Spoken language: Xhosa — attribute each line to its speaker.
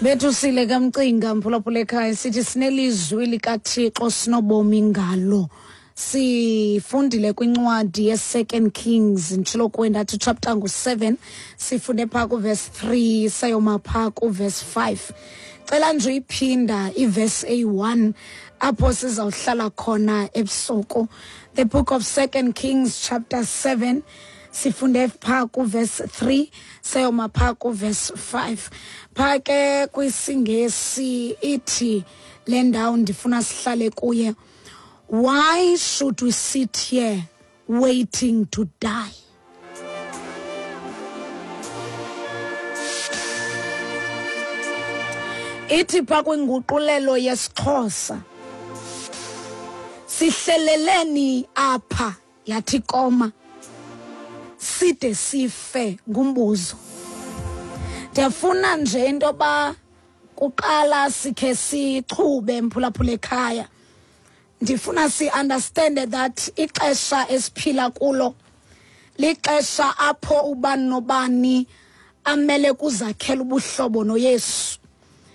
Speaker 1: Bethusile kamcinga mphulaphula ekhaya, sithi sinelizwi likaThixo sinobomi ngalo. Sifundile kwincwadi ye-Second Kings, nditshilo kuwe ndathi chapter ngu-7, sifunde phaa kuverse 3 sayoma phaa kuverse 5. Cela nje uyiphinda iverse eyi-1 apho sizawuhlala khona ebusuku. The book of Second Kings chapter 7, sifunde phaa kuverse 3 sayoma phaa kuverse 5. Phaa ke kwisiNgesi ithi le ndawo ndifuna sihlale kuye, why should we sit here waiting to die? Ithi phaa kwinguqulelo yesiXhosa, sihleleleni apha, yathi koma, side sife ngumbuzo. Ndiyafuna nje into yoba kuqala sikhe sichube mphulaphula ekhaya. Ndifuna si-understande that ixesha esiphila kulo lixesha apho ubani nobani amele kuzakhela ubuhlobo noYesu.